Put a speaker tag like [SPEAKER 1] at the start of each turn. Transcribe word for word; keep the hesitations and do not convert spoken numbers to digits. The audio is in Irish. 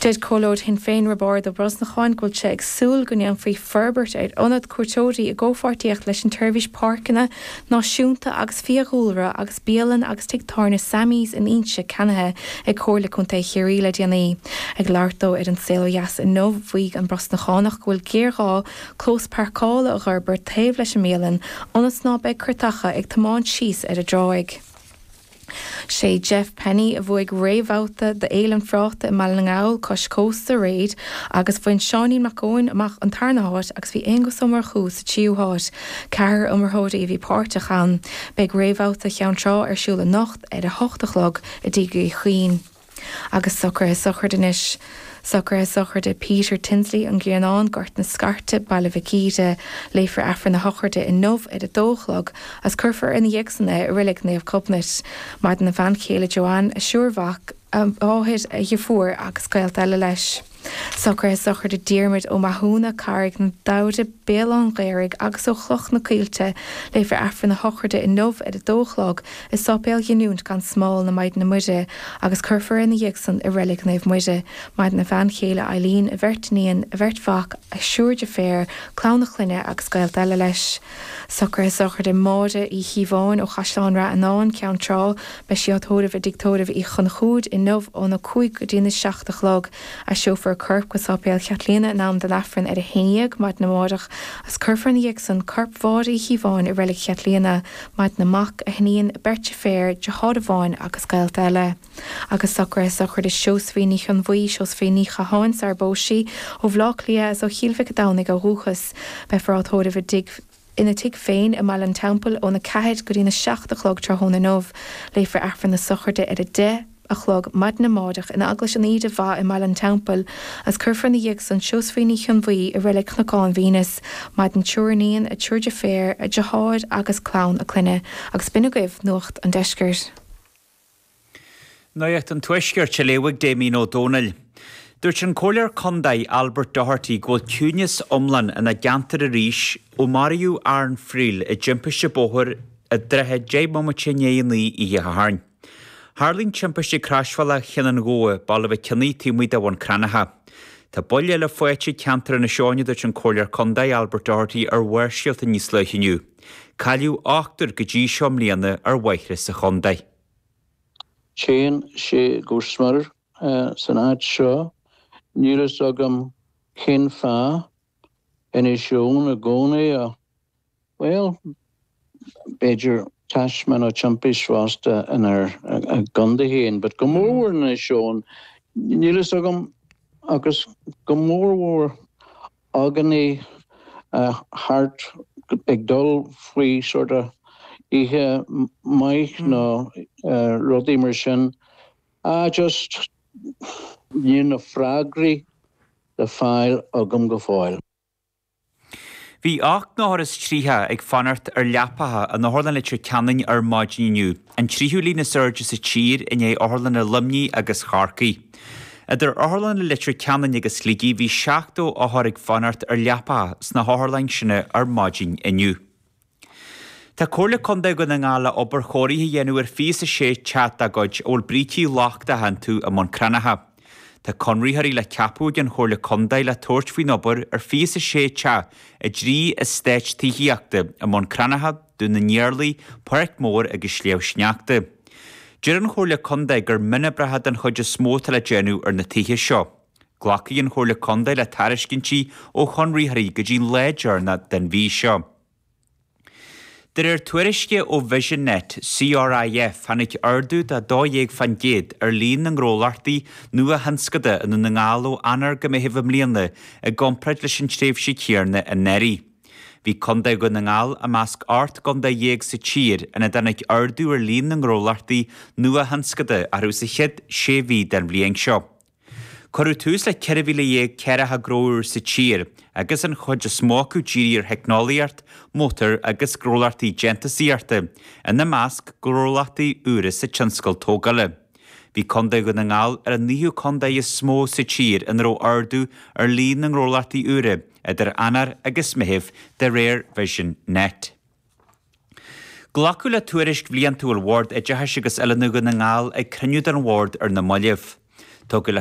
[SPEAKER 1] Deir Comhairleoir Shinn Féin Roibeárd Ó Brosnacháin go bhfuil sé ag súil go ndéanfaí forbairt ar ionad cuairteoirí i gcomhpháirtíocht leis an tSeirbhís Páirceanna Náisiúnta agus Fiadhúlra agus bialann agus tigh tábhairne Sammy's in Inse ceannaithe ag Comhairle Contae Chiarraí le déanaí. Ag labhairt dó ar An Saol Ó Dheas inniu mhaígh an Brosnachánach go bhfuil géarghá clós páirceála a fhorbairt taobh leis an mbialann ionas ná beidh cairteacha ag tiomáint síos ar an dtráigh. Sé Jeff Penny a bhuaigh réamhbhabhta d'Fhéile an Phráta i mBaile na nGall cois cósta aréir agus bhain Seáinín Mac Eoin amach an tarna háit agus bhí Aonghus Ó Murchú sa tríú háit. Ceathrar iomaitheoirí a bhí páirteach ann. Beidh réamhbhabhta Cheann Trá ar siúl anocht ar a hocht a chlog i dTigh Uí Chuinn. Agus socruithe sochraide anois. Socruithe sochraide Peter Tinsley an Grianán Gort na Scairte Baile Mhic Íde. Léifear Aifreann na sochraide inniu ar a dó a chlog agus cuirfear ina dhiaidh san é i Reilig Naomh Gobnait. Maireann a bhean chéile Joanne a thriúr mhac a mháthair a dheirfiúr agus gaolta eile leis. Socruithe sochraide Diarmuid Ó Mathúna, Carraig na Damhra, Béal an Ghaorthaidh agus ó Chloch na Coillte, léifear Aifreann na sochraide inniu ar a dó a chlog i Sáipéal Ghiniúint gan Smál na Maighdine Muire agus cuirfear ina dhiaidh san i Reilig Naomh Muire. Maireann a bhean chéile Eileen, a bheirt iníon, a bheirt mhac, a thriúr deirféar, clann a chlainne agus gaolta eile leis. Socruithe sochraide Máire Uí Chíobháin ó Chaisleán Rath Fhionáin, Ceann Trá, beidh sí á tórramh i dtigh tórraimh Uí Chonchúir inniu óna cúig go dtí na seacht a chlog. Aistreofar a corp go Sáipéal Chaitríona in am don Aifreann ar a haon déag maidin amárach agus cuirfear ina dhiaidh san corp Mháire Uí Chíobháin i Reilig Chaitríona, maireann a mac, a hiníon, beirt deirféar, deartháir amháin agus gaolta eile. Agus socruithe sochraide Seosaimhín Ní Chionbhuí, Seosaimhín Ní Chatháin sara bpós sí, ó Bhaile Átha Cliath is ó Chill Mhic an Domhnaigh ó dhúchas. Beifear á tórramh i dtigh ina tigh féin i mBaile an Teampaill óna ceathair go dtí na seacht a chlog tráthnóna inniu. Léifear Aifreann na sochraide ar a deich a chlog maidin amárach in Eaglais an Íde Mhaith i mBaile an Teampaill agus cuirfear ina dhiaidh san Seosaimhín Ní Chionbhuí i Reilig Chnocán Mhínis, maireann triúr iníon, a triúr deirféar, a deartháir agus clann a clainne, agus b'in agaibh Nuacht an Deiscirt.
[SPEAKER 2] Nuacht an Tuaiscirt á léamh ag Damien Ó Dónaill. Dúirt an Comhairleoir Contae Albert Doherty go bhfuil ciúnas iomlán ina gceantar arís ó maraíodh Aaron Friel i dtimpiste bóthair i dtrátha deich mbomaite i ndiaidh a naoi oíche Shathairn. Tharla an timpiste ag Croisbhealach Chinn an Ghabha, Baile Mhic Cionnaith taobh amuigh de Bhun Cranncha. Tá buille eile faighte ag ceantar Inis Eoghain, a dúirt an Comhairleoir Contae Albert Doherty ar Bharrscéalta níos luaithe inniu. Cailleadh ochtar go dtí seo i mbliana ar bhóithre sa chontae.
[SPEAKER 3] Téann sé go smior san áit seo. Níl fhios agam cén fáth. Inis Eoghain i gcónaí a bhuel, b'fhéidir taisme nó timpist fosta inár gcontae féin, but go mórmhór in Inis Eoghain. Níl fhios agam agus go mórmhór againne thart ag dul faoi sort of oíche maith nó rudaí mar sin. Ah just níl na freagraí le fáil agam go fóill.
[SPEAKER 2] Bhí ocht n-othar is tríocha ag fanacht ar leapacha in Otharlann Leitir Ceanainn ar maidin inniu, an tríú líon is airde sa tír i ndiaidh otharlanna Luimnigh agus Chorcaí. Idir otharlanna Leitir Ceanainn agus Shligigh bhí seachtó othar ag fanacht ar leapacha sna hotharlanna sin ar maidin inniu. Tá Comhairle Contae Dhún na nGall le obair chóirithe a dhéanamh ar fiche a sé teach dá gcuid a bhfuil brící lochtacha iontu i mBun Cranncha. Tá conraitheoirí le ceapadh ag an Chomhairle Contae le tabhairt faoin obair ar fiche a sé teach i dtrí eastát tithíochta i mBun Cranncha, Dún na nIarlaí, Páirc Mhór agus Sliabh Sneachta. Deir an Chomhairle Contae gur mionoibreacha den chuid is mó atá le déanamh ar na tithe seo. Glacfaidh an Chomhairle Contae le tairiscintí ó chonraitheoirí go dtí an lá deireanach den mhí seo. De réir tuairisce ó Vision-Net, CRIF, tháinig ardú de dó dhéag faoin gcéad ar líon na ngnólachtaí nuathionscanta i nDún na nGall ó Eanáir go Meitheamh i mbliana i gcomparáid leis an tréimhse chéanna anuraidh. Bhí Contae Dhún na nGall i measc ocht gcontae dhéag sa tír ina dtáinig ardú ar líon na ngnólachtaí nuathionscanta orthu sa chéad sé mhí den bhliain seo. Cuireadh tús le ceithre mhíle dhéag ceathracha gnó úr sa tír, agus an chuid is mó acu dírithe ar theicneolaíocht, mótair agus gnólachtaí déantúsaíochta, ina measc gnólachtaí úra sa tionscal tógála. Bhí Contae Dhún na nGall ar an naoú contae is mó sa tír ina raibh ardú ar líon na ngnólachtaí úra idir Eanáir agus Meitheamh, de réir Vision Net. Glacadh le tuairisc bhliantúil Bhord Oideachais agus Oiliúna Dhún na nGall ag cruinniú den Bhord ar na mallaibh. Tugadh le